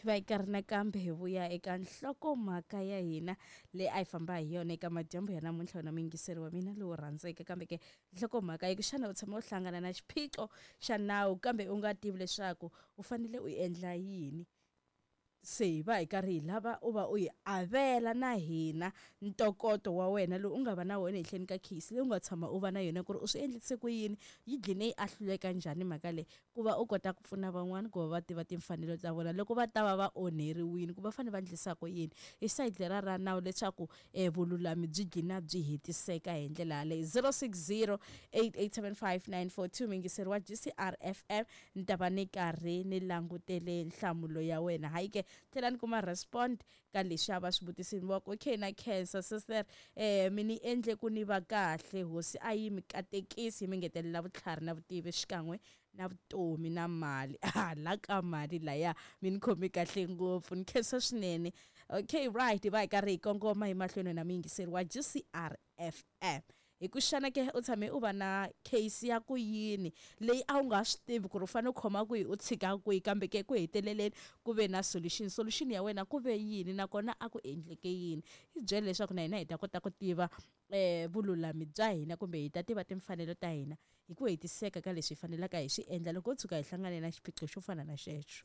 Va yi karhi nakambe hi vuya eka nhlokomhaka ya hina leyi a hi famba hi yona eka madyambu ya namuntlha, wena muyingiseri wa mina lowu rhandzeke. Kambe ke nhlokomhaka yi ku, xana u tshama u hlangana na xiphiqo xa nawu kambe u nga tivi leswaku u fanele u endla yini? Se hi va hi karhi hi lava u va u hi avela na hina ntokoto wa wena lowu u nga va na wona ehenhleni ka case leyi u nga tshama u va na yona, ku ri u swi endlise ku yini, yi gcine yi ahluleka njhani mhaka leyi, ku va u kota ku pfuna van'wana ku va va tiva timfanelo ta vona loko va ta va va onheriwile, ku va fanele va endlisa ku yini hi sayiti lera ra nawu leswaku vululami byi gcina byi hetiseka hi ndlela yaleyo. 060 8875 942, muyingiseri wa GCR FM, ni ta va ni karhi ni langutele nhlamulo ya wena. Hayi ke, tlhela ni kuma respond ka leswi a va swi vutisini va ku, okay, na khensa sister, mi ni endle ku ni va kahle, hosi a yi mi katekisi, yi mi ngetelela vutlhari na vutivi xikan'we na vutomi na mali. Hala ka mali laya mi ni khomi kahle ngopfu, ni khensa swinene. Okay, right, hi va hi karhi hi kongoma hi mahlweni na muyingiseri wa GCR FM. Hi ku, xana ke u tshame u va na case ya ku yini leyi a wu nga swi tivi ku ri u fanele u khoma kwihi, u tshika kwihi, kambe ke ku heteleleni ku ve na solution? Solution ya wena ku ve yini, nakona a ku endleke yini? Hi byele leswaku na hina hi ta kota ku tiva vululami bya hina, kumbe hi ta tiva timfanelo ta hina hi ku hetiseka ka leswi hi fanelaka hi swi endla loko ho tshuka hi hlangane na xiphiqo xo fana na xexo.